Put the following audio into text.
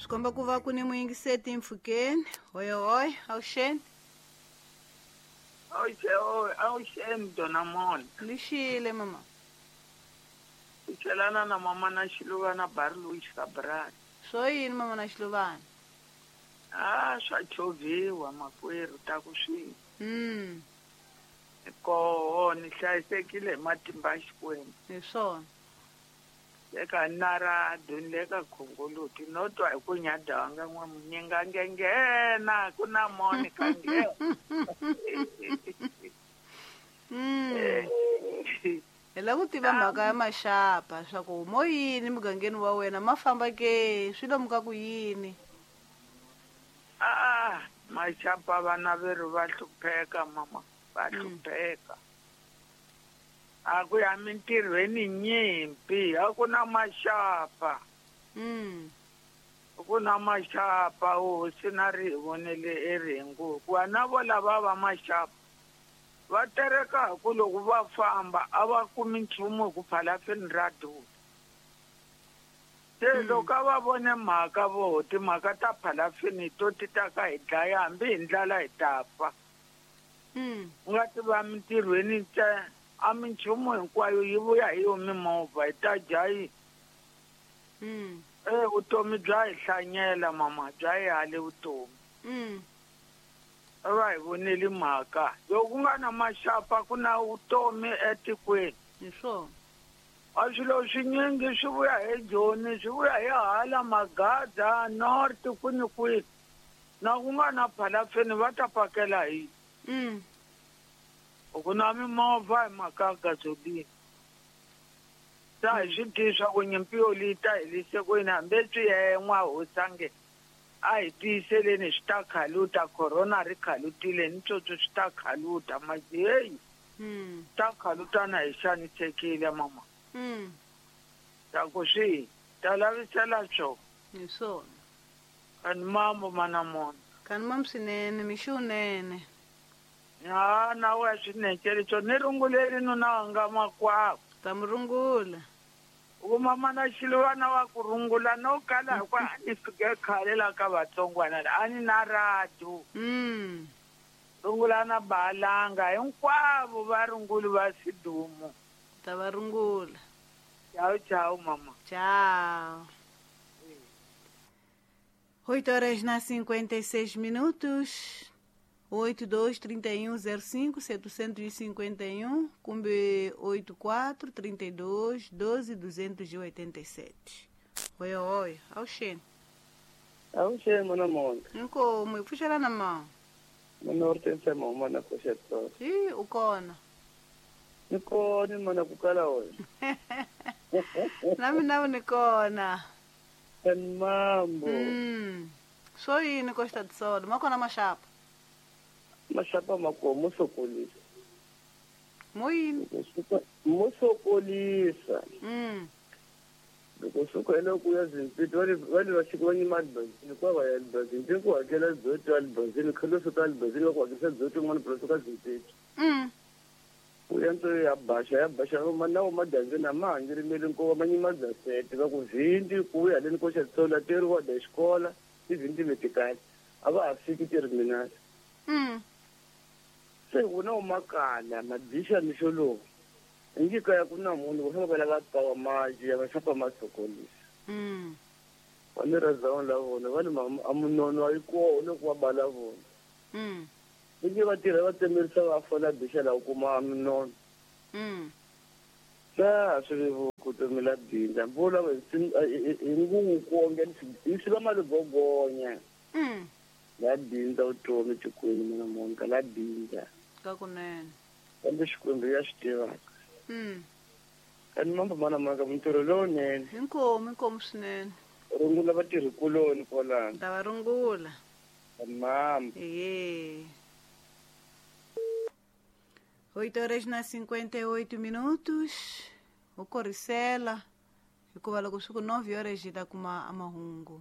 Swi komba ku va ku ni muyingiseti mpfhukeni. Hoyohoy, avuxeni. Avuxeni dona mona. Ni xile mama. Ku chelana na mama na Xiluvana Barlow Xikabrani. Swo yini mama na Xiluvana? Ah, swa chovhiwa makwerhu ta ku swi. Koho ni hlayisekile hi matimba ya Xikwembu. Hi swona. Eka narado ni le ka khongoloti no twa hi ku nyada wanga n'wa munyinga nge nghena ku na Monica nghena. Hi lava ku tiva mhaka ya maxapa swa ku mo yini mugangeni wa wena ma famba ke swi lomuka ku yini? Ah, maxapa vana veru va hlupheka mama, va hlupheka. A ku ya mintirhweni nyimpi, a ku na maxapa. Ku na maxapa hosi na ri hi vonele erhengu hikuva na vo lava va maxapa va tereka hi ku loko va famba a va kumi nchumu hi ku phalafini ra durha. Se loko a va vone mhaka voho timhaka ta phalafini to ti ta ka hi dlaya hambi hi ndlala hi ta fa. U nga ti va mintirhweni ntsena a minchumu hinkwayo yi vuya hi yo mimovha hi ta dya yi. Vutomi bya hi hlanyela mama bya hi hale vutomi. Va hi voneli mhaka loko ku nga na maxapa ku na vutomi etikweni. Hi swona. A swilo swinyingi swi vuya hi Joni swi vuya hi hala Magada North kwini kwini na ku nga na phalafini va ta pakela hi. Ku na mimovha hi mhaka ya gasoline. Ta hi swi tivi swa ku nyimpi yo leyi ta helise ku yini hambi swi yen'wa hosange a hi tiyiseleni swi ta khaluta corona ri khalutile ni tsotso swi ta khaluta masi heyi ta khalutana hi xanisekile mama. Ta ku swi ta lavisela swo. Hi swona. Kani mambo mana mona. Kani mambo swinene mixunene. Ha na we swinene swo ni runguleli nuna wanga makwavo. Ta mu rungula. Ku mama na Xiluvana wa ku rungula no kala hi ku a ni fike khale la ka vatsongwana a ni na radio. Rungula na Balanga hinkwavo va runguli va Sidumo. Ta va rungula. Ciao ciao mama. Ciao. 8 horas na 56 minutos. 82 31 05 751 kumbe 84 32 12 287. Oi, oi, avuxeni. Avuxeni mana mona. Inkomu, hi pfuxelana ma. Mina u ri tensema mana koxetolo. Hi, u kona. Ni kona mana ku kala wena. Na mina ni kona. Kani mambo. Swo yini ko xitatisolo? Ma kona maxapa? Maxapa ma kona mo sokolisa. Mo yini? Mo sokolisa. Loko suka hi loko ya Zimpito va le va xika va nyima Albazini kwa va ya Albazini ku hakela dzoto Albazini khale suka Albazini va ku hakerisa dzoto yin'wana plus ka Zimpito. Ku ya nto ya baxa na wo madyambyeni a ma ha ngirimeli nkova ma nyima dzasete va ku vhindi ku ya haleni ko xatsolo teriwa da xikola tivhindi letikali a va ha fiki terminal. Se wona wu makala madixa mixo lowu ingi kaya ku na munhu va fanele va lava pawa maji ya vaxapa masokolisa. Va ni razawuni la vona va ni a munono a yi kona loko va bala vona. Ingi va tirha va tsemerisa va fola dixa la kuma munono. Sa swi vevuka vutomi la bindza vula hi nguvu kuonge hi swi va maligogonya. La bindza vutomi tikweni mina Monica la bindza. Ka kunene. Kambe Xikwembu ya swi tivaka. Kani mambo mana maka mintirho lowunene. Inkomu, inkomu swinene. Rungula vatirhikuloni kwalano. Ta va rungula. Mambo. Ehe. 8 horas na 58 minutos. U korisela hikuva loko swi ku 9 horas hi ta kuma amahungu.